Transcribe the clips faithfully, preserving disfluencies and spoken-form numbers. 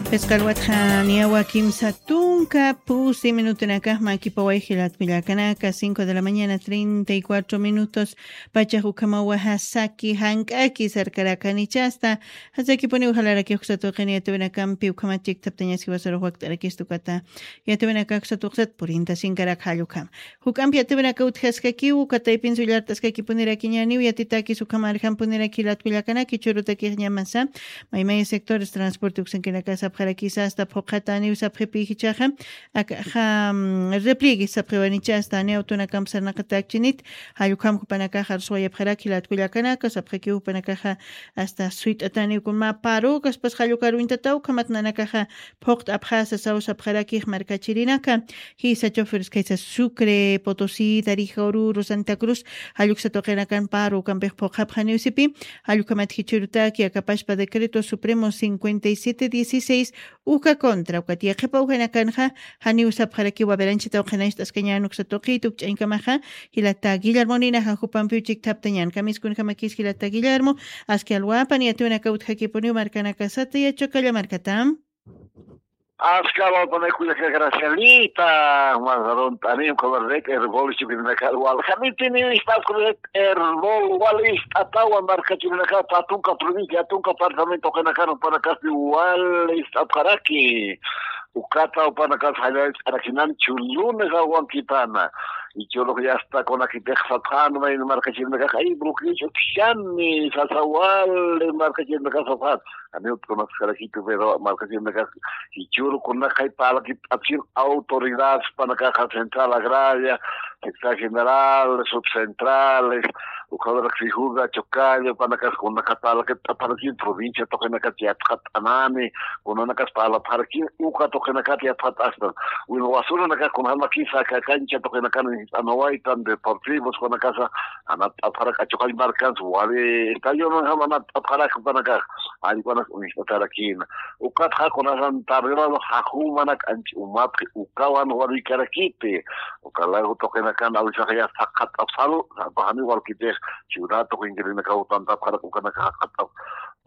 Phisqa alwatxa niyawa kimsa tunka pusi minutunakax makipaway jilat kullakanaka, cinco de la mañana, treinta y cuatro minutos. Pachax ukhamawaxa saki jank'aki sarkarakanichasta. Jasakipuniw jalaraki uksatuqin yatiwinakampi ukhamat chiktaptañas jiwasarux wakt'arakistukata. Yatiwinakax uksatuqsat purinta sinkarak jallukham. Juk'ampi yatiwinaka utjaskakiw, kataypin sullart'askakipunirakïñaniw, yatitakis ukham arjampuniraki jilat kullakanaki, churutakix ñamasa maymay sectores transporte uksankinaka sapxarakisa asta phuqhataniw sapxipi jichaxa. Akaxa repliegui sapxiwanicha asta ni awtunakam sarnaqatakchinit. Jallukham jupanakaxa arswayapxaraki jilat kullakanaka sapxakiw jupanakaxa asta suyt'ataniw kunma paru kaspas jallukar uñtataw ukhamat nanakaxa phuqt'apxasa saw sapxarakix markachirinaka. Jisa choferes kaysa Sucre, Potosí, Tarija, Oruro, Santa Cruz, jalluksa tuqinakan paru ukampix phuqhapxaniw sipi. Jallukhamat jichhirutaki akapashpa decreto supremo cincuenta y siete dieciséis uka contra ukat yaqhipa ujinakanxa. Janiw sapxarakiwa beranchita uqhinacht'askañan uksa tuqit ukch'añkamaxa. Jilata Guillermo ninaxa jupampiw chikthaptañan kamiskunjamakis jilata Guillermo. Aski alwapan yatiwinaka utjakipuniw markanakasata yachukalla markatam. Askawapanakullaka Gracielita, masarunt'anim qhamarrek erbol chukirinakar waljanitini ist'apkuret erbol wal ist'atawa markachirinakar patunka provincia tunka apartamento qinakar panakaspi wal ist'apkaraki. Ukata upanakas jallallch'arakinan chullunes awankipana. Ichurux yastakunakitix sapxanma in markachirinakax ay bloqueo ch'utjani sasawal markachirinakax sapxan. Ani utkunaskarakitu pero markachirinakax ichuru kunakay parlakit t'apsin autoridades panakaxa central agraria, secretaria general, subcentrales, ukhawarak fijura chocallo panakas kunaka parlakit t'aparakin provincia tuqinakat yatxat'anani. Kunanakas parlapxarakin uka tuqinakat yatxat'astan. Win wasurunakax kunajamakisa kakancha tuqinakan jis'anawaytan deportivos kunakasa anat t'apxarak achuqall markans wali estallonanjam anat t'apxarak panakax. Allkunax uñist'atarakina. Ukatxa kunasan tardelado jajumanak anch umapxi ukawan waruykarakiti. Ukalagu tuqinakan awisax ya saqat'apsalu sapxani walkitix ciudad tuqinkirinakaw tantapxarak ukanaka jaqat'ap.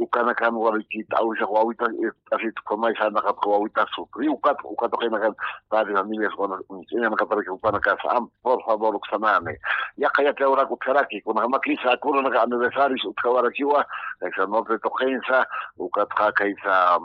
Ukanakan waruyki awisax wawita t'asit ukhamay sarnaqapxi wawita sufri ukat uka tuqinakan padre familias ukanak uñist'añanakaparaki upanakasa am por favor uksanani. Yaqha yatiwrak utjaraki kunajamakisa akurunaka aniversarios utjawarakiwa. Kaysa norte tuqinsa ukatxa kaysa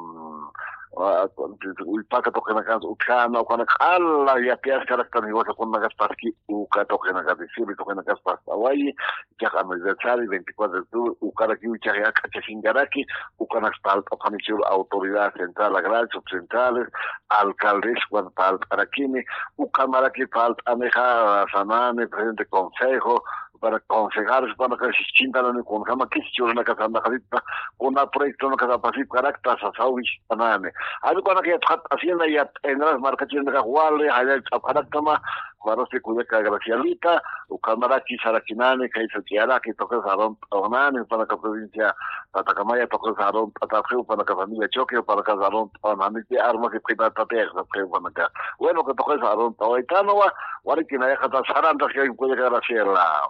ullpaka tuqinakansa utjana ukanak q'ala yatiyaskaraktan jiwasakunanakas paski uka tuqinakas diciembre tuqinakas pastawayi. Ichax aniversario veinticuatro de octubre ukarakiw ichax yak'achasinkaraki. Ukanaks palt'apxanichur autoridad central agrario subcentrales alcaldes ukan palt'arakini. Ukhamaraki palt'anixa sanani presidente consejo para concejales panaka siskintanani kunjamakis churanaka sarnaqasipta kuna proyectonaka sapasipkarakta sasaw wichtanani. Allkunak yatxat'asina yat'aynras markachirinakax wali jallallch'apxaraktama. Juparasti kullaka Gracielita ukhamaraki sarakinani kaysa ch'iyaraki tuqis arunt'awanani panaka provincia Tatakamaya tuqis arunt'atapxi panaka familia Choque panaka arunt'awananiti armasipxitatatix sapxi panaka. Bueno que tuqis arunt'awaytanwa. Wariki nayaqata sarantaskayku kullaka Graciela.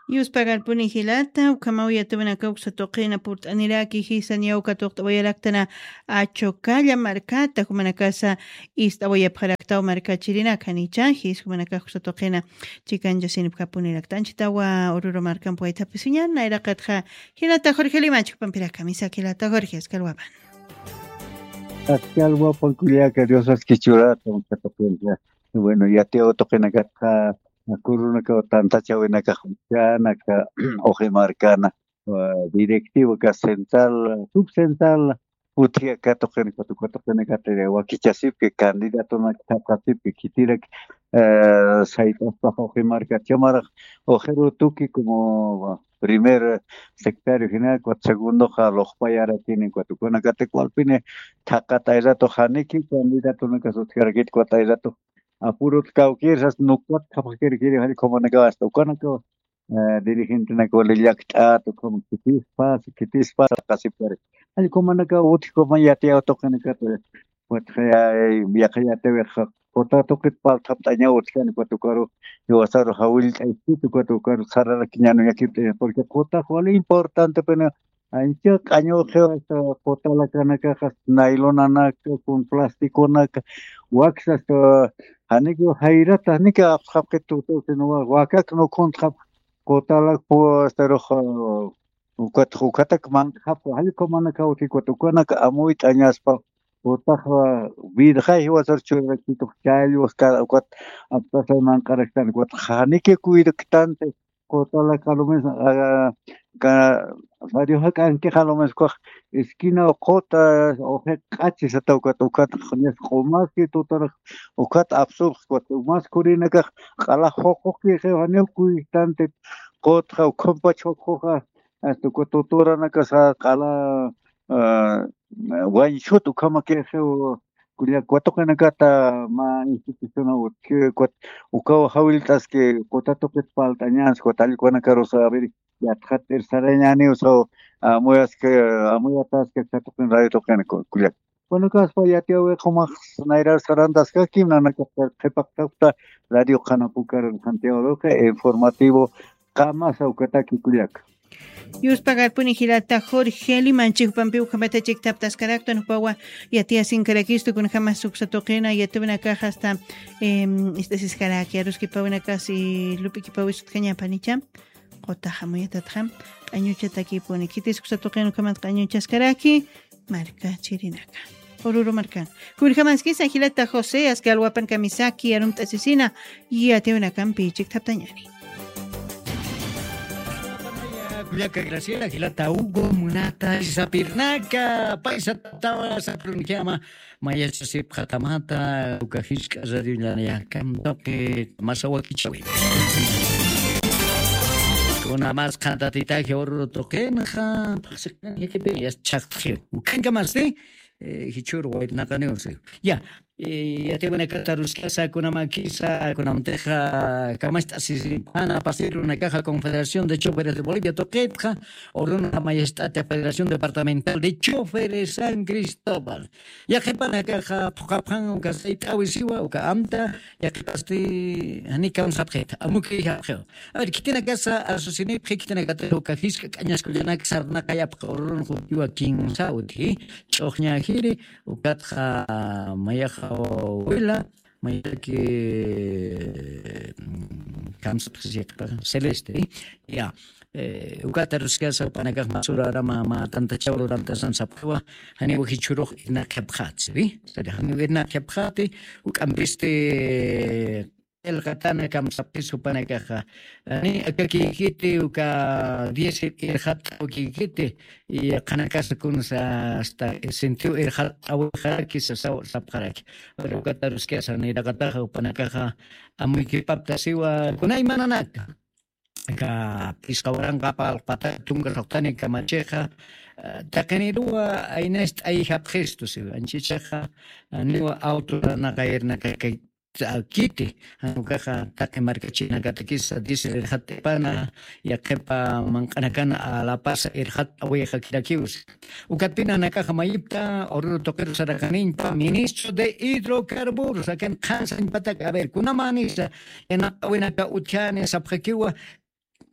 Yuspagarpuni jilata ukhamaw yatiwinaka uksa tuqina purt'aniraki jisa niyaw katuqt'awayaraktana achukalla markata jumanakasa ist'awayapxaraktaw markachirinaka nicha jis jumanakax uksa tuqina chikanchasinipxapunirakta anchitawa ururu markampi waythapisiñan nayraqatxa. Jilata Jorge Limachi jupampiraka misaki jilata Jorge askalwapan. Askalwapan kullaka Dios aski churata uksa tuqincha. Bueno yatiyaw tuqinakatxa akurunakaw tantachawinakax uchanaka uximarkana directiva ka central subcentral utji aka tuqinakata uka tuqinakata wakichasipki candidatonaka thapxasipki khitirak sayt'aspax uximarkata chamarax uxiru tuki como primer secretario jina ukat segundoxa luqpayarakini ukat ukanakatak walpini thaqat ayratux janiki candidatonakasa utjarakit ukat ayratux apurut kawkir sas nukat thapxakirkiri jall ukamanakaw asta ukanakaw dirigentenaka wali llakt'at ukhama khitispas khitispas qasipkari. Allkumanaka utjkuma yatiyaw tuqinakata watxayay yaqha yatiyawixa quta tuqit palthapt'añaw utjkani ukat ukaru jiwasaru jawillt'ayskit ukat ukaru sararakiñanu yakipt'aña porque qutax wali importantepina Ancha q'añuqiw hasta qutalakanakaxa, naylonanaka kun plasticonaka, waksa hasta janiki jayrata janiki apsxapxit tutu sino wakak nukhuntxap qutalak pu hasta rux ukat ukatak manq'xap. Jallq'umanakaw ukat ukanaka amuyt'añaspa. Utaxa virjay jiwasar churrakitux challwak ukat aptasay manq'araktan ukat janiki cuidaktanti. Qutalaka lo mismo radio jak'ankixa lo mismo kax esquina quta uqi q'achi sata ukat ukat ñas q'umaski tutarax ukat apsupxi ukat umas kurinakax q'ala juquqkixiw janiw cuidaktanti. Qutxa ukhampach juquxa hasta uka tuturanakasa q'ala wañchut ukhamakixiw. Kullak watuqinakata mä institucionaw utjiwi ukat ukaw jawillt'aski quta tuqit palt'añansi ukat allquwanakarusa a ver yatxat irsarañaniw saw amuyaski amuyataski katuqin radio tuqina kullak. Bueno kaspa yatiyawi qumax nayrar sarantaskakim nanakax qhipaqtapta radio qhanapukar santiago luqi informativo qamasa ukataki kullaka. Yuspagarpuni jilata jorge limanchi jupampi ukhamata chiktaptaskarakta nupawa yatiyasinkarakista kunjama suksa tuqina yatiwinakaxa hasta ist'asiskaraki aruskipawinakasi lup'ikipawis utjañapanicha. Qutaxa muyatatxa q'añuchatakipuni khitis uksa tuqina ukhamat q'añuchaskaraki markachirinaka. Ururu markan kunjamaskisa jilata josé aski alwapan kamisaki arumt'asisina yatiwinakampi chiktaptañani. Kullaka graciela jilata hugo munata isapirnaka paysatatawa saprunjama mayachasipxatamata uka jisk'a radiollanayakamtuqi masawakichawi. Kuna mas qhantatitaji ururu tuqinxa phaxsiqnanjikipin yas chhaqtxiw ukankamasti jichhur waytnaqaniwsi. Ya yatiwinakata ruskasa kunamakisa kunamtixa kamacht'asisipana pasirunakaxa confederación de choferes de bolivia tuqitxa urunxa mayast'ata federación departamental de choferes san cristóbal. Yaqhipanakaxa phuqapxan uka sayt'awisiwa uka amta yaqhipasti janikamsapxita amukiyjapxiwa. A ver khitinakasa asusinipxi khitinakatix uka jisk'a k'añaskullanak sarnaqayapxa ururun jutiwa kinsa utji ch'uxñajiri ukatxa mayaxa wila mayaki kamsapxisiqpa celeste ya. Ukata ruskasa panakax masurarama ma tantachaw lurantasan sapxiwa janiw jichhurux irnaqhapxatsiri. Janiw irnaqhapxati uk'ampisti qillqatana kamsapxis jupanakaxa. Ni akakikiti uka diez irxat'awkikiti. Y qhanakasa kunsa hasta sentiw irxat'awixaraki sasaw sapxaraki. Pero ukata ruskasa niraqataxa jupanakaxa amuykipaptasiwa kunaymananaka aka phisqa waranqa palqpata tunka suqtani kamachixa taqiniruwa aynast'ayjapxistu siwa anchichaxa niwa auto naqayirnakakay kiti janukaxa taqi markachinakatakisa diésel irxat'ipana yaqhipa manq'anakana alapasa irxat'awixa kirakiwsi. Ukatpina nakaxa mayipta ururu tuqiru saraqaniñpa ministro de hidrocarburos akan qhansañpatak a ver kunamanisa yanaq'awinaka utjani sapxakiwa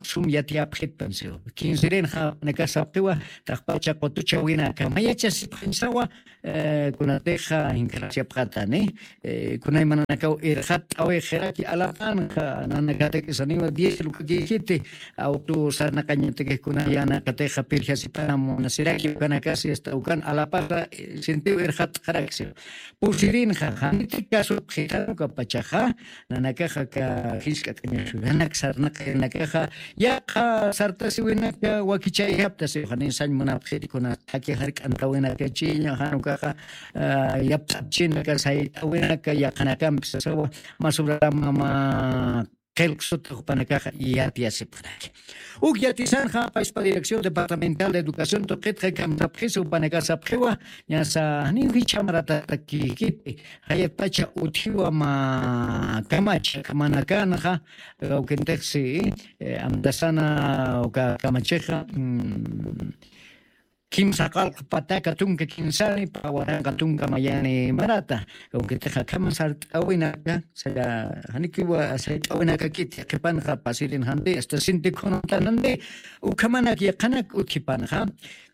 sum yatiyapxitpan siwa kinsirinxa naka sapxiwa taqpacha qutuchawinaka mayachasipxañsawa kunatixa inkarasipxatani kunaymananakaw irxat'awixiraki alapanxa nanakatakisaniwa diez lukakijiti auto sarnaqañatakix kunaya naqatixa pirjasipana munasiraki ukanakasi asta ukan alapasa sintiw irxat'xaraksi pusirinxa janiti kasupxitan ukapachaxa nanakaxa ka jisk'a k'añaxullanak sarnaqayanakaxa yaqha sartasiwinaka wakichayjaptasiw janin sañ munapxiti kuna thaki jark'antawinakachiña jan ukaxa yapt'apchinaka sayt'awinaka yaqhanakampi sasawa masurarama ma qillqsuta jupanakaxa yatiyasipxaraki. Uk yatisanxa payspa dirección departamental de educación tuqitxa kamsapxisa jupanakasapxiwa ñasa janiw jichhamaratataki jayatpacha utjiwa ma kamacha kamanakanxa awkintixsi amtasana uka kamachixa kimsa qallq pataka tunka kinsani, pä waranqa tunka mayani marata. Kawkitixa akhama sart'awinaka, saya, janikiwa sayt'awinakakiti, qhipanxa pasirin jandi, hasta sinti khunantan jandi, ukhamanak yaqanak utjipanxa,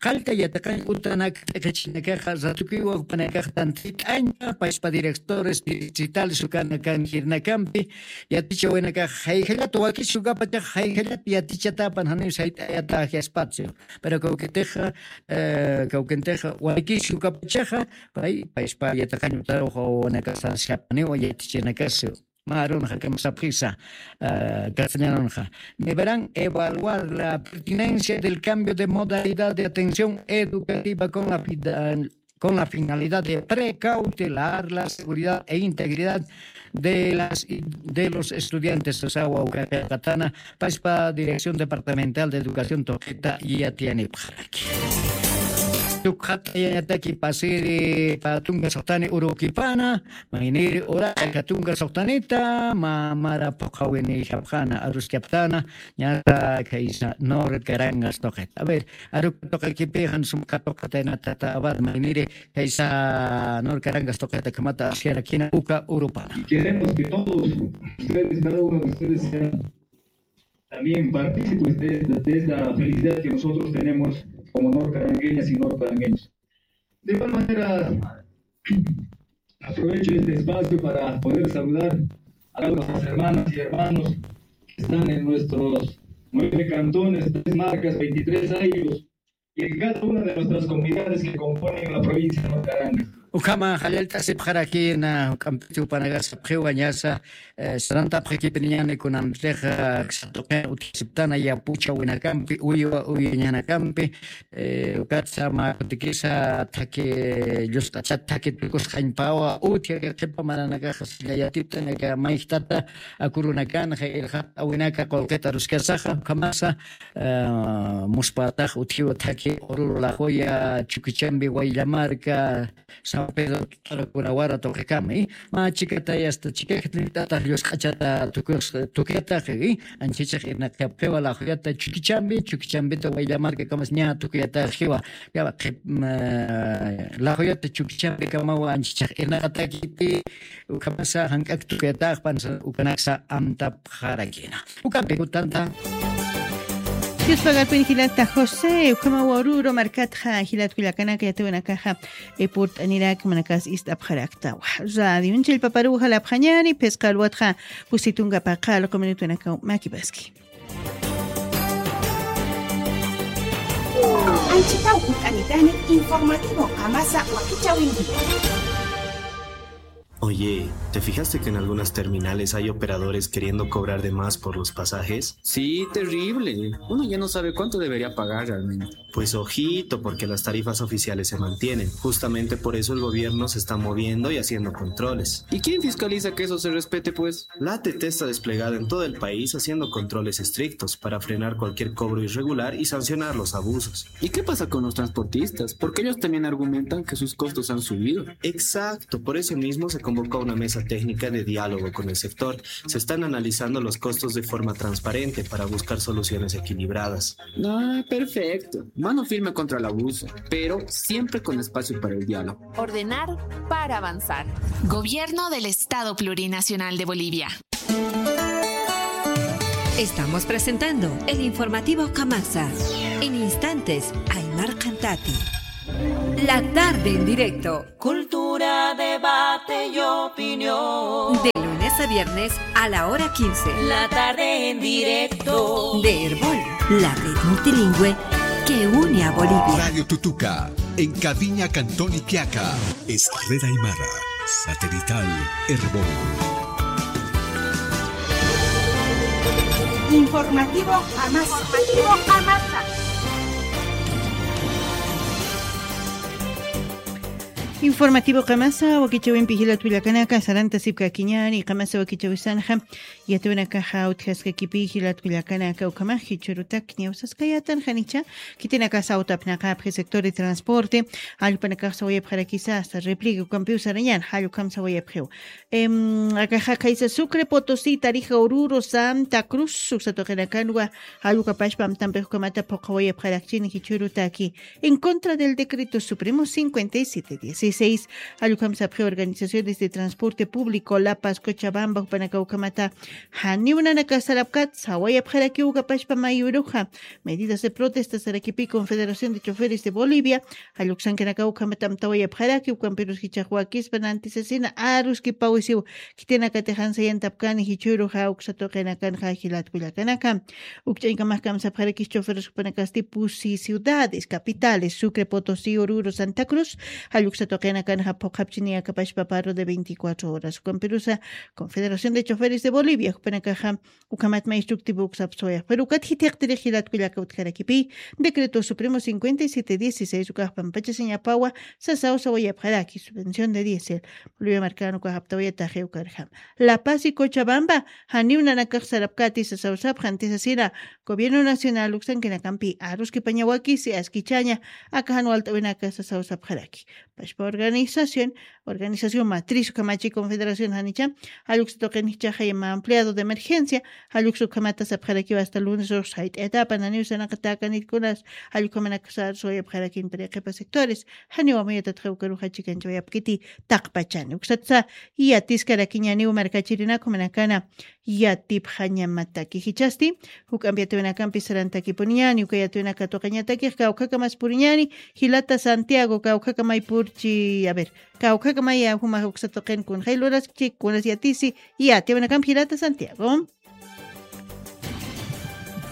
qallta yatiqañ utanak t'iqichinakaxa, ratukiwa jupanakax tantit'añpa, paspa directores distritales ukanakan jirnakampi, yatichawinakax jayjallat wakis ukapachax jayjallat yatichatapan janiw sayt'ayataji espacio. Pero kawkitixa, eh, kawkintix walikis ukapachaxa, pay, payspa yatiqañ utaruxa wawanakasa sapxaniwa yatichinakasi. Mä arunxa kama sapxisa, eh, castellanonxa. Deberán evaluar la pertinencia del cambio de modalidad de atención educativa con la fida-, con la finalidad de precautelar la seguridad e integridad de las, de los estudiantes. Sasawa uka qillqatana, paspa Dirección Departamental de Educación tuqita yatiyanipxaraki. Tukxatayañataki pasiri pä tunka suxtani urukipana, mayniri uraka tunka suxtanita, mä mara phuqhawini japxana, aruskaptana, ñata khaysa Nor Carangas tuqita. A ver, aruka tuqikipi jan sum katuqataynata tata Abad, mayniri khaysa Nor Carangas tuqita kamata asyarakina uka urupana. Y queremos que todos ustedes, cada uno de ustedes sean también partícipes de, de esta felicidad que nosotros tenemos como norcarangueñas y norcarangueños. De igual manera, aprovecho este espacio para poder saludar a todas las hermanas y hermanos que están en nuestros nueve cantones, tres marcas, veintitrés años, y en cada una de nuestras comunidades que componen la provincia de Norcarangas. Ukhama jallallt'asipxarakïna, juk'ampiti jupanakax sapxiwa ñasa, eh, sarantapxakipiniñäni kunantixa, eh, satuqin utjasiptana yapuchawinakampi, uywa uyañanakampi, eh, ukatsa mä kutikisa thaki, llusq'achat thaki tukusxañpawa, utji aka qhipa maranakaxa silla yatiptan aka mayjtata, akurunakanxa, irxat'awinaka qullqita aruskasaxa, ukhamasa, eh, muspätax utjiwa thaki Oruro, Lajoya, Chuquichambi, Wayllamarca, San Pedro, Tutaru, Curawara tuqikama, y mä chikatay hasta chikakatnit'atax llusq'achata tukus-, tukiyatax, y anchhichax irnaqapxiwa Lajoyata Chuquichambi, Chuquichambita Wayllamarcakamas ña tukiyataxiwa, ya, qhip-, ma, Lajoyata Chuquichambikamawa anchhichax irnaqatakiti, ukhamasa jank'ak tukiyatax pansa ukanaksa amtapxarakïna. Ukampi jutanta. Dios pagarpin jilata José, ukhama Oruro markatxa jilat kullakanaka yatiwanakaxa, e, purt'anirak manakas ist'apxaraktawa. Radio Chillpaparuw jalapxañäni, phisqa alwatxa pusi tunka paqallqu minutunakaw makipaski. Anchitaw jut'anitani informativo Qamasa wakichäwinti. Oye, ¿te fijaste que en algunas terminales hay operadores queriendo cobrar de más por los pasajes? Sí, terrible. Uno ya no sabe cuánto debería pagar realmente. Pues ojito, porque las tarifas oficiales se mantienen. Justamente por eso el gobierno se está moviendo y haciendo controles. ¿Y quién fiscaliza que eso se respete, pues? La A T T está desplegada en todo el país haciendo controles estrictos para frenar cualquier cobro irregular y sancionar los abusos. ¿Y qué pasa con los transportistas? Porque ellos también argumentan que sus costos han subido. Exacto, por eso mismo se convocó una mesa técnica de diálogo con el sector. Se están analizando los costos de forma transparente para buscar soluciones equilibradas. Ah, perfecto. Mano firme contra el abuso, pero siempre con espacio para el diálogo. Ordenar para avanzar. Gobierno del Estado Plurinacional de Bolivia. Estamos presentando el informativo Qamasa. En instantes, Aymar Cantati. La tarde en directo. Cultura, debate y opinión. De lunes a viernes a la hora quince. La tarde en directo. De Erbol, la red multilingüe que une a Bolivia. Radio Tutuca, en Caviña, Cantón Iquiaca. Es red aymara, satelital, Erbol. Informativo Qamasa. Informativo Qamasa. Informativo qamasa wakichawimpi jilat kullakanaka, saranta sipkakiñani qamasa wakichawisanxa, yatiwanakaxa utjaskakipi jilat kullakanaka, ukhamax jichhurutaki ñawsaskayatan janicha, khitinakasa utapnaqapxi sector de transporte, allpanakax sawayapxarakisa hasta replique ukampiw sarañan, jallukam sawayapxiw. Em, akaxa khaysa Sucre, Potosí, Tarija, Oruro, Santa Cruz, uksatuqinakanwa, jallukapashpa amtampix ukhamata phuqawayapxarakchini jichhurutaki. En contra del decreto supremo cincuenta y siete dieciséis, allukam sapxi organizaciones de transporte público, La Paz, Cochabamba, jupanaka ukhamata, janiw nanaka sarapkat, sawayapxarakiw ukapashpa mayuruxa, medidas de protesta sarakipi Confederación de Choferes de Bolivia, jalluksankanaka ukhamata amtawayapxaraki, ukampirus jichhax wakispa nantisasina, aruskipawisiw, khitinakatixan sayantapkani jichhüruxa uksatuqinakanxa jilat kullakanaka. Ukch'añkamax kamsapxarakis choferes jupanakasti pusi ciudades capitales, Sucre, Potosí, Oruro, Santa Cruz, jalluksa tuqinakanxa phuqhapchini akapashpa paro de veinticuatro horas. Jukampirusa Confederación de Choferes de Bolivia, jupanakaxa ukhamat maychuktipu uksapsuwayax. Pero ukat jithiqtirix jilat kullaka utjarakipi, decreto supremo cincuenta y siete dieciséis ukax pampachasiñapawa, sasaw sawayapxaraki, subvención de diésel. Bolivia markan ukax aptawayataxi ukarjam. La Paz y Cochabamba, janiw nanakax sarapkati sasaw sapxan tisasina, Gobierno Nacional uksankinakampi aruskipañawakisi askichaña, akaxan walt'awinaka sasaw sapxaraki. Pashpa organización, organización matriz ukhamachi Confederación janicha, jalluksa tuqin jichhaxa ima ampliado de emergencia, jalluksa ukhamata sapxarakiwa hasta lunes ux sayt'ayatapa naniw sanaqatakanitkunas, jallukhamanakasa arusuwayapxarakin tariqipa sectores, janiw amuyatatxa ukaruxa chikanchawayapkiti taqpachani. Uksatsa yatiskarakiñaniw markachirinak jumanakana yatipxañamataki. Jichhasti, juk'ampi yatiwinakampi sarantakipuniñani, uka yatiwinaka tuqañatakix kawkhakamas puriñani, jilata Santiago, kawkhakamay purchi, a ver, kawkhakamay juma uksa tuqin kunxay luraskchi, kunas yatisi, yatiwinakampi jilata Santiago.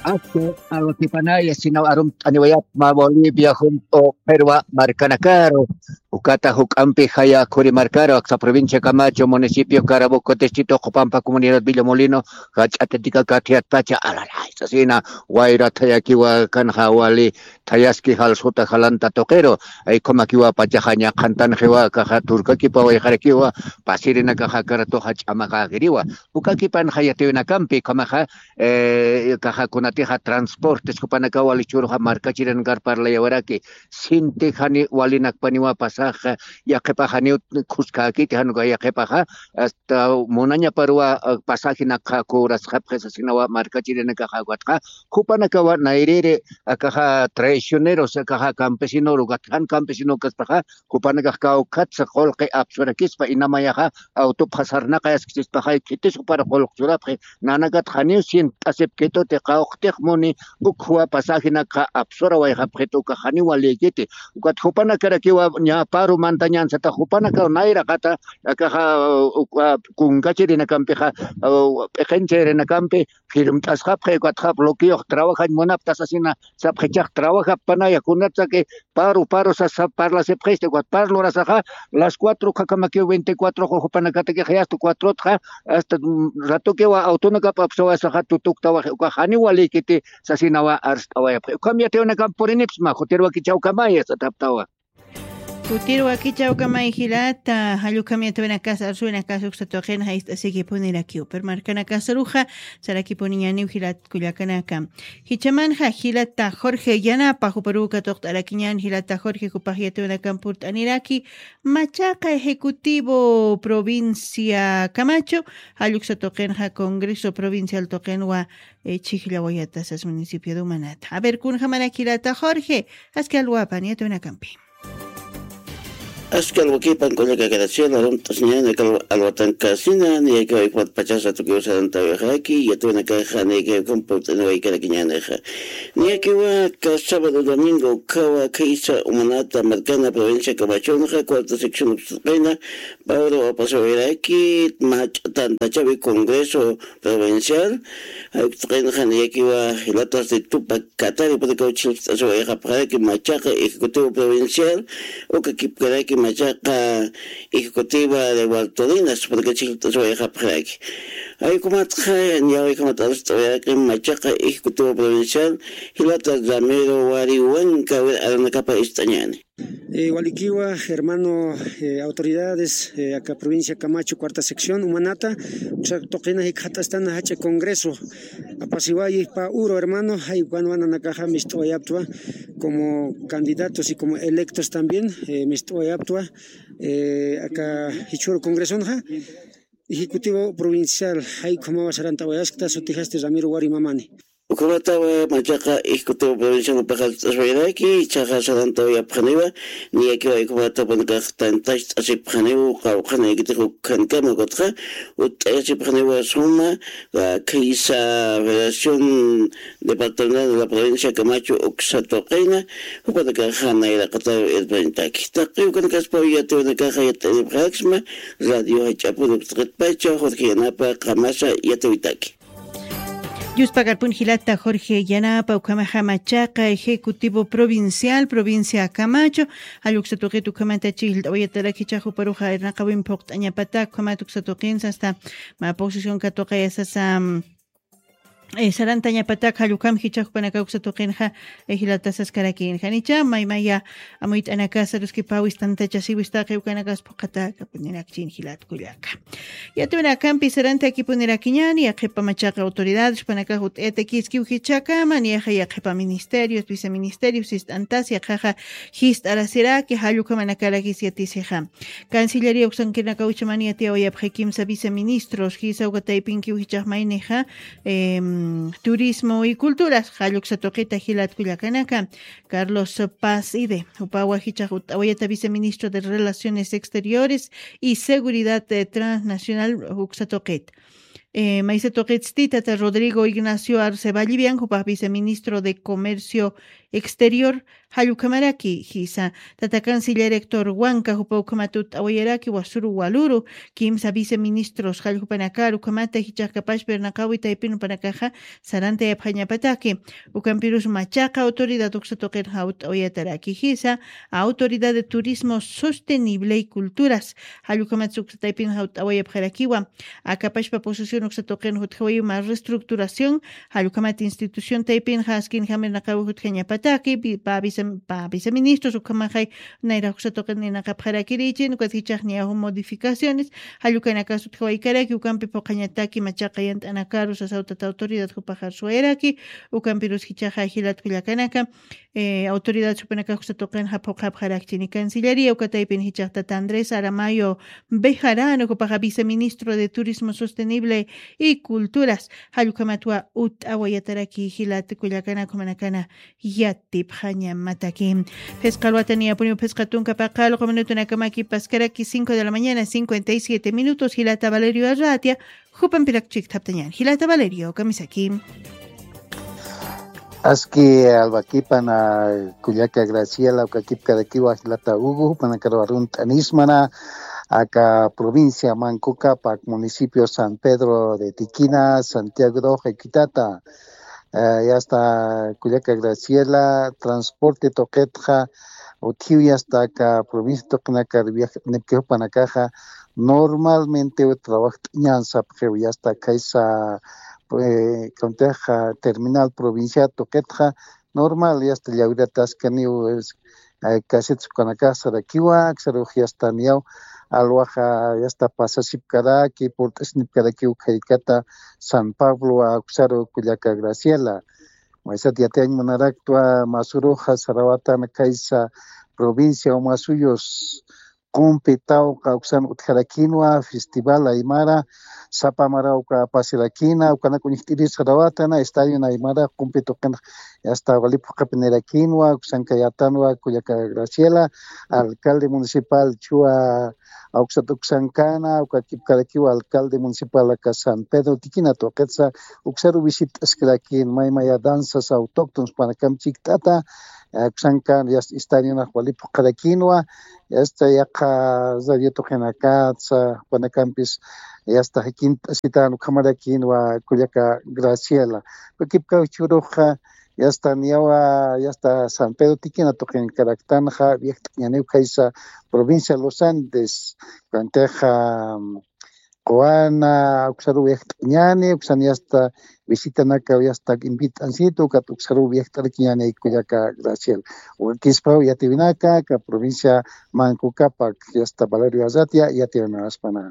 Asta alwakipanaya sinaw arumt'aniwayapma Bolivia junt'u qhirwa markanakaru, ukata juk'ampi jaya khuri markaru, aksa provincia Camacho, municipio Caraboco, distrito Copampa, comunidad Villa Molino, jach'atatika kathiatpacha, alalay, sasina, wayra thayakiwa kanxa wali, thayaski jalsuta jalanta tuqiru, ay, ukhamakiwa pachaxa ñaqhantanxiwa, kaxa turkakipawayxarakiwa, pasirinakaxa karatuxa ch'amaqakiriwa, ukakipanxa yatiwinakampi, ukhamaxa, eh, kaxa kunatixa transportes jupanakawa wali chhuruxa markachirinankar parlayawaraki, sinti jani walinakpaniwa pasaxa, yaqhipaxa janiw khuskakiti januka yaqhipaxa, hasta munañaparuwa, ah, pasajenakxa cobrasxapxi sasinawa markachirinakaxa ukatxa, jupanakawa nayriri akaxa traicioneros, akaxa campesinoru, ukat jan campesino kaspaxa, jupanakax kawkhatsa qullqi apsurakispa, inamayaxa autopxa sarnaqayaskisispaxay, khitis jupar qullq churapxi, nanakat janiw sient'asipkituti, qawqtix muni, ukhuwa pasajenakxa apsurawayxapxit, uka janiw walïkiti, ukat jupanakarakiwa ñä paru mantañansata, jupanakaw nayraqata, akaxa, uh, uh, kunkachirinakampixa, uh, p'iqinchirinakampi, firmt'asxapxi, ukatxa bloqueox trabajañ munapta sasina, sapxichax trabajappanaya, kunatsa que paru, paru sasa parlasipxisti, ukat par lurasaxa, las cuatro ukhakhamakiw veinticuatro jupanakatakix, hasta cuatrotxa, hasta, mm, ratukiwa autonakap apsawasaxa tutuktawaxi, uka janiw walïkiti sasinawa arst'awayapxi. Ukham yatiwinakamp purinipsma, jutir wakichawkamaya sataptawa. Jutir wakichawkamay jilata, jallukam yatiwinakas, arsuwinakas, uksa tuqin jayt'asikipunirakiw. Pero markanakasaruxa, sarakipuniñaniw jilat kullakanaka. Jichhamanxa jilata Jorge Yanapa, juparuw katuqt'arakiñän jilata Jorge, jupax yatiwinakamp purt'aniraki, machaqa ejecutivo provincia Camacho, jalluksa tuqinxa Congreso Provincial tuqinwa, eh, chhijllawayatasas municipio de Humanata. A ver, kunjamarak jilata Jorge, aski alwapan yatiwinakampi. Aski alwakipan kullaka Graciela, arumt'asiñäni aka alwatankasina, niyakiwa ukhamat pachasa tukiw sarantawayxaraki, yatiwinakaxa niyakiwa ukhamp purt'aniwaykarakiñänixa. Niyakiwa aka sábado domingo ukhawa khaysa Humanata markana provincia Camachonxa, cuarta sección uksataqina, Pablo Apasawayraki, mach'a tantachawi Congreso Provincial, jay uksataqinxa niyakiwa jilatas de Tupac Katari, purakaw chhijllt'asiwayxapxaraki machaqa ejecutivo provincial, uka kipkaraki machaqa ejecutiva de Bartolinas, puraka chhijllt'asiwayxapxaraki. Jay ukhamatxa, niyawi ukhamat arst'awayaraki machaqa ejecutivo provincial, jilata Ramiro Wariwanka, a ver, aranakapa ist'añäni. Eh, walikiwa, hermano, eh, autoridades, eh, aka provincia Camacho, cuarta sección, umanata, uksa tuqina jikxat'astana jach'a congreso, apasiwayi pa uro, hermano, jay ukan wananakaxa mist'awayaptwa, como candidatos y como electos también, eh, mist'awayaptwa, eh, aka jichhuru congresonxa, ejecutivo provincial, jay ukhamawa sarant'awayaskta, sutijasti Ramiro Wari Mamani. Ukhamatawa machaqa ejecutivo provincial upaxa llt'aswayraki, ichaxa sarantawayapxaniwa, niyakiwa ukhamata upanakax tantacht'asipxaniwa, qawqhanayakitix ukhankama ukatxa, utt'ayasipxaniwa suma, ah, khaysa Federación Departamental de la Provincia Camacho uksa tuqina, jupanakaxa nayraqataw irpañtaki. Taqi ukanakaspaw yatiwanakaxa yat'anipxaraksma, radio jach'apun uksa tuqitpacha, Jorge Yanapa, qamasa yatiwitaki. Yuspagarpun jilata Jorge Yanapa, ukhamaxa machaqa ejecutivo provincial, provincia Camacho, jall uksa tuqit ukhamata chillt'awayatarak jichhax juparuxa irnaqawin phuqt'añapatak, ukhamat uksa tuqinsa hasta mä posición katuqayasasa, mm, eh, sarantañapatak, jall ukham jichhax jupanaka uksa tuqinxa, eh, jilata saskarakin. Janicha, maymaya amuyt'anakasa, ruskipaw istantachasiw istaqi ukanakas phuqataka, punirakchin jilat kullaka. Yatiwinakampi sarantakipunirakiñäni, yaqhipa machaqa autoridades, jupanakax utt'ayatakiskiw jichhakama, niyaxa yaqhipa ministerios, viceministerios, ist'antas, yaqhaxa jist'arasiraki, jall ukhamanakarakis yatisixa. Cancillería uksankirinakaw uchamani yatiyawayapxi kimsa viceministros, jisa uka taypinkiw jichhax maynixa, em, turismo y culturas, jall uksa tuqita jilat kullakanaka, Carlos Paz Ide, jupawa jichhax utt'awayata viceministro de Relaciones Exteriores y Seguridad, eh, Transnacional, uksa tuqit. Eh, maysa tuqitsti tata Rodrigo Ignacio Arce Vallivian, jupax viceministro de Comercio Exterior, jall ukhamaraki, jisa. Tata canciller Héctor Huanca, jupa ukhamat utt'awayaraki, wasuru waluru, kimsa viceministros, jall jupanakar, ukhamata jichhax kapachpa irnaqawi taypin jupanakaxa, sarantayapxañapataki. Ukampirus machaqa autoridad uksa tuqinxa utt'awayataraki, jisa, Autoridad de Turismo Sostenible y Culturas, jall ukhamat uksa taypinxa utt'awayapxarakiwa. Akapachpa posesión uksa tuqin jutjawayiw mä reestructuración, jall ukhamat institución taypinxa askinjam irnaqawi jutjañapataki, vi-, pa visa-, pa viceministros ukhamaxay nayrax uksa tuqin irnaqapxarakirichin, ukat jichhax niyaw modificaciones, jall ukanakas utjawaykaraki, ukampi phuqhañataki machaqa yant'anakaru sasaw tata autoridad jupax arsuwayaraki, ukampirus jichhaxa jilat kullakanaka, eh, autoridad jupanakax uksa tuqinxa phuqhapxarakchini. Cancillería uka taypin jichhax tata Andrés Aramayo Bejarano, jupaxa viceministro de Turismo Sostenible y Culturas, jall ukhamatwa utt'awayataraki jilat kullakanak jumanakana yatipxañamataki. Phisqa alwata niyapuniw phisqa tunka paqallqu minutunakamaki paskaraki cinco de la mañana, cincuenta y siete minutos, jilata Valerio Arratia, jupampirak chikt'aptañän. Jilata Valerio, kamisaki. Aski alwakipan, kullaka Graciela, uka kipkarakiwa jilata Hugo, jupanakar arunt'anismana, aka provincia Manco Cápac, municipio San Pedro de Tiquina, Santiago de Oja, Quitata. Eh, yasta kullaka Graciela, transporte tuqitxa, utjiw yasta aka provincia tuqinakar viajt'anipki jupanakaxa, normalmente trabajt'añän sapxiw, yasta khaysa, eh, kuntixa terminal provincial tuqitxa, normal, yasta llawirataskaniw, es, eh, casetas ukanakax sarakiwa, aksarux yasta niyaw, alwaxa yasta pasasipkaraki, purt'asnipkarakiw khaykata San Pablo, uksaru kullaka Graciela. Maysat yatiyañ munaraktwa, masuruxa sarawatan khaysa provincia Omasuyos, qumpi tawqa uksan utjarakinwa, festival aymara, sapa mara uka apasirakina, ukanak uñjt'iris sarawatana, estadio aymara, qumpi tuqin, yasta wali phuqhapinirakinwa, uksanka yatanwa, kullaka Graciela, alcalde municipal, chua, uksat uksankana, uka kipkarakiwa alcalde municipal aka San Pedro Tiquina tuqitsa, uksaru visit'askirakin, maymaya danzas autóctonos jupanakam chikt'ata, eh, uksankan, yasta estadionax wali phuqharakinwa, yasta yaqha radio tuqinakatsa, jupanakampis, yasta jakint'asitan ukhamarakinwa, kullaka Graciela. Uka kipkaw jichhüruxa, yasta niyawa, yasta San Pedro Tiquina tuqinkaraktanxa, viajt'añäniw khaysa provincia Los Andes, kuntixa, quwana, uksaruw yaqt'añani, uksan yasta visitanaka yasta invit'ansitu, ukat uksaruw yaqt'arakiñani kullaka Graciel. Wakispaw yatiwinaka, ka provincia Manco Capac, yasta Valerio Arratia, yatiwinakaspana.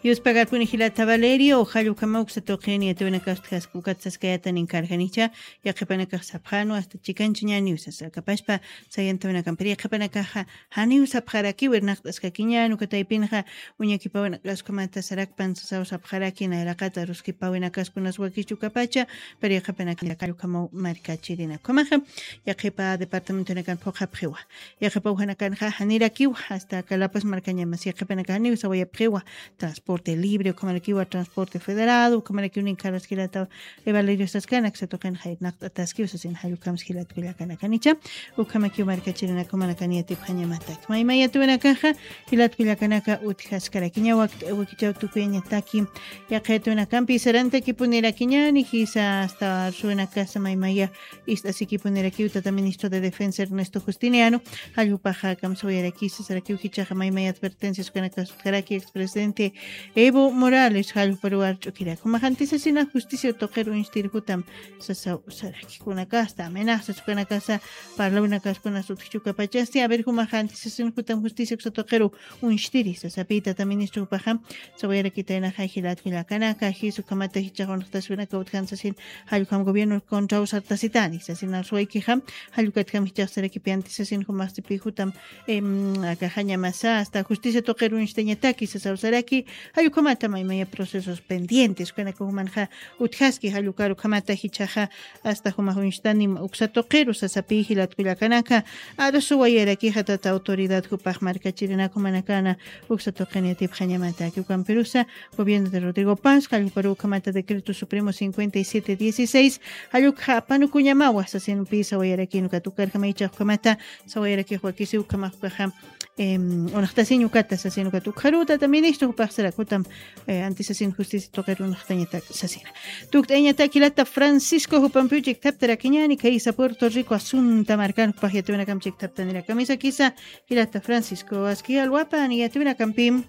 Yuspagarpuni jilata Valerio, jallukama uksa tuqini yatiwinakasta ukat saskayata ninkarjanicha, yaqhipanakax sapxanu, hasta chikanchu ñani usasa kapashpa, sayantawinakampiri yaqhipanakaxa, janiw sapxaraki, wirnaqt'askakiñan, uka taypinxa, uñakipawinakaskumatas sarakpan sasaw sapxaraki, nayraqata ruskipawinakaskunas wakichu kapacha, pero yaqhipanakax jallukamaw markachirinakumaxa, yaqhipa departamentonakan phuqhapxiwa. Yaqhipa ujanakanxa janirakiwa, hasta Calapaz markañamas yaqhipanakax janiw sawayapxiwa, transporte libre, ukhamarakiwa transporte federado, ukhamarakiw ninkarus jilata Evalerios saskana, uksa tuqinxa irnaqt'ataskiw sasin jallukams jilat kullakanakanicha, ukhamakiw markachirinakumanakani yatipxañamatak. Maymay yatiwinakaxa, jilat kullakanaka utjaskarakiña wak-, wakichaw tukuyañataki, yaqha yatiwinakampi sarantakipunirakiñani, jisa hasta arsuwinakasa maymaya ist'asikipunirakiw tata ministro de Defensa Ernesto Justiniano, jallpaxa kamsawayaraki sasarakiw jichhaxa maymay advertencias ukanakasutjaraki expresidente Evo Morales, jallparuw arch'ukirak. Jumax antisasina justicia tuqir uñstiri jutam sasaw saraki. Kunakasta amenazas ukanakasa parlawinakaskunas utjchukapachasti, a ver, jumax antisasin jutam justicia uksa tuqiru uñstiri sasapi tata ministro jupaxa sawayarakitaynaxa jilat kullakanaka, jis ukhamata jichhax unxtaswinaka utjan sasin, jallukam gobierno contraw sartasitani sasin arsuwaykixa, jallukatjam jichhax sarakipi antisasin jumaxsipi jutam, em, akaxañamasa hasta justicia tuqir uñstañataki sasaw saraki, jallukhamata maymaya procesos pendientes ukanaka jumanxa utjaski, jallukar ukhamata jichhaxa hasta jumax uñstanim uksa tuqiru sasapi jilat kullakanaka, arsuwayarakixa tata autoridad jupax markachirinakumanakana uksa tuqini yatipxañamataki. Ukampirusa gobierno de Rodrigo Paz, jallparu ukhamata decreto supremo cincuenta y siete dieciséis, jallukxa apanukuñamawa sasinpi sawayarakin, ukat ukarjama jichhax ukhamata sawayarakix wakisi ukhamax ukaxa, em, unxtasiñ ukata sasin, ukat ukxaru tata ministro jupax sarak jutam, eh, antisasin justicia tuqir unxtañatak sasina. Tukt'ayañatak jilata Francisco jupampiw chiktaptarakiñani, kaysa Puerto Rico Asunta markan jupax yatiwinakam chiktaptanirakamisa kisa, jilata Francisco, aski alwapan yatiwinakampim.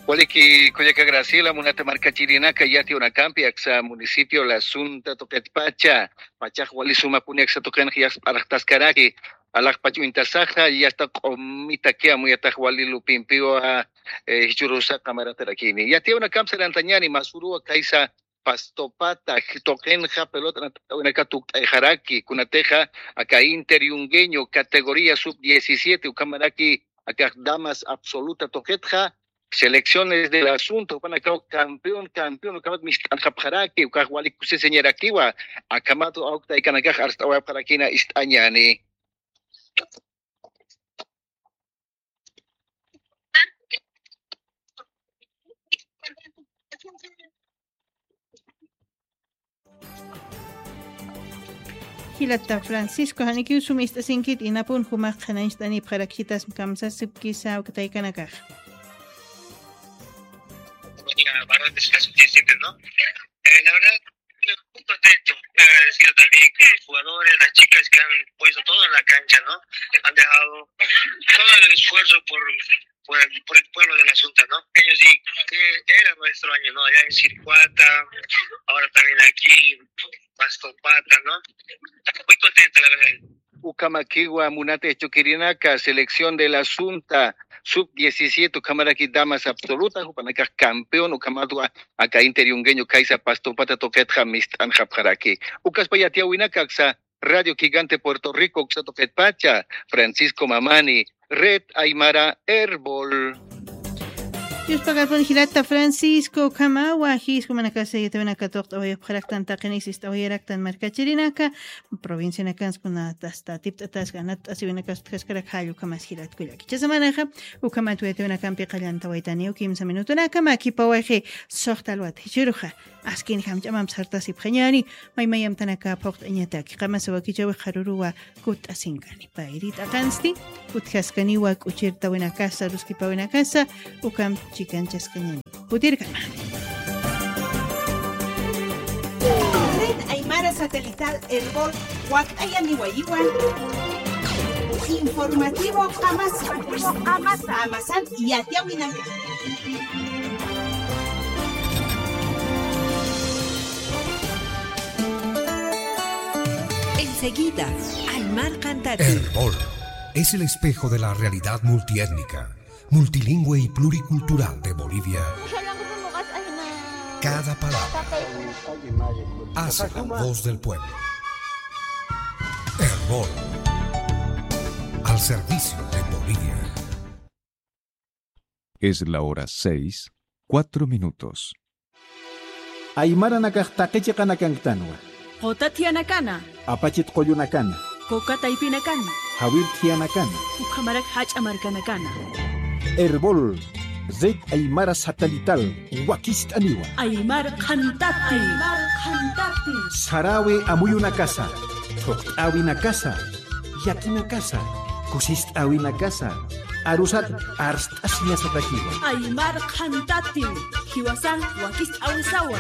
Waliki kullaka Graciela, munata markachirinaka, yatiwinakampi aksa municipio La Asunta tuqitpacha, pachax wali sumapuni aksa tuqinx yasparxtaskaraki, alaxpach uñtasaxa, yasta q'umitakiwa, amuyatax wali lupimpiwa, eh, jichhürusa qamaratarakini. Yatiwinakamp sarantañani, masuruwa kaysa Pastopata tuqinxa pelota anat'awinaka tukt'ayxaraki, kunatixa aka Inter Yungueño categoría sub diecisiete ukhamaraki akax damas absoluta tuqitxa, selecciones de La Asunta jupanakaw campeón, campeón ukhamat mist'anxapxaraki, ukax wali kusisiñarakiwa, akhamat awktaykanakax arst'awayapxarakina ist'añani. Jilata Francisco, janikiw sum ist'asinkit, inapun jumax qhanañcht'anipxarakchitas kamsasipkisa uktaykanakax. Bueno, la verdad es que así siempre, ¿no? Eh, la verdad, muy contento, muy agradecido también con los jugadores, las chicas que han puesto todo en la cancha, ¿no? Han dejado todo el esfuerzo por, por el, por el pueblo de La Asunta, ¿no? Ellos sí, que era nuestro año, ¿no? Allá en Circuata, ahora también aquí, Pastopata, ¿no? Muy contento, la verdad. Ukhamakiwa munata jichhukirinaka, selección de La Asunta, sub diecisiete, ukhamaraki damas absoluta, jupanakax campeón, ukhamatwa aka Inter Yungueño kaysa Pastopata tuqitxa mist'anxapxaraki. Ukaspa yatiyäwinaka aksa Radio Gigante Puerto Rico uksa tuqitpacha, Francisco Mamani, Red Aymara Erbol. Yuspagarpun jilata Francisco, ukhamawa jis jumanakasa yatiyäwinaka tuqt'awayapxaraktan, taqinix ist'awayaraktan markachirinaka, provincianakansa kunatasta tipt'ataska, anatasiwinakas utjaskarak jall ukhamas jilat kullaki. Jichha semanaxa ukhamat yatiyäwinakampi qallantawaytaniw kimsa minutunaka, mä khipawayxi suxta alwat jichhüruxa askin jamch'amamp sartasipxañäni, maymay amtanaka phuqt'añataki, qamasa wakichäwix qharüruwa kutt'asinkani. Payri t'aqansti utjaskaniwa k'uchirtawinakasa, ruskipawinakasa, ukamp chikanchaskañäni. Jutirkama. Red Aymara Satelital Erbol, wakt'ayaniwayiwa. Informativo Qamasa. Qamasa. Qamasan yatiyäwinaka. Enseguida, Aymar Qantati. Erbol es el espejo de la realidad multiétnica, multilingüe y pluricultural de Bolivia. Cada palabra hace la voz del pueblo. Erbol, al servicio de Bolivia. Es la hora seis, cuatro minutos. Aymaranakax taqi chiqanakanktanwa. Quta thiyanakana. Apachit qullunakana. Kuka taypinakana. Jawir thiyanakana. Ukhamarak jach'a markanakana. Erbol, Red Aymara Satelital, wakist'aniwa. Aymar Qhantati. Aymar Qhantati. Sarawi amuyunakasa, thuqt'äwinakasa, yakinakasa, kusist'äwinakasa, arusat arst'asiñasatakiwa. Aymar Qhantati, jiwasan wakist'äwisawa.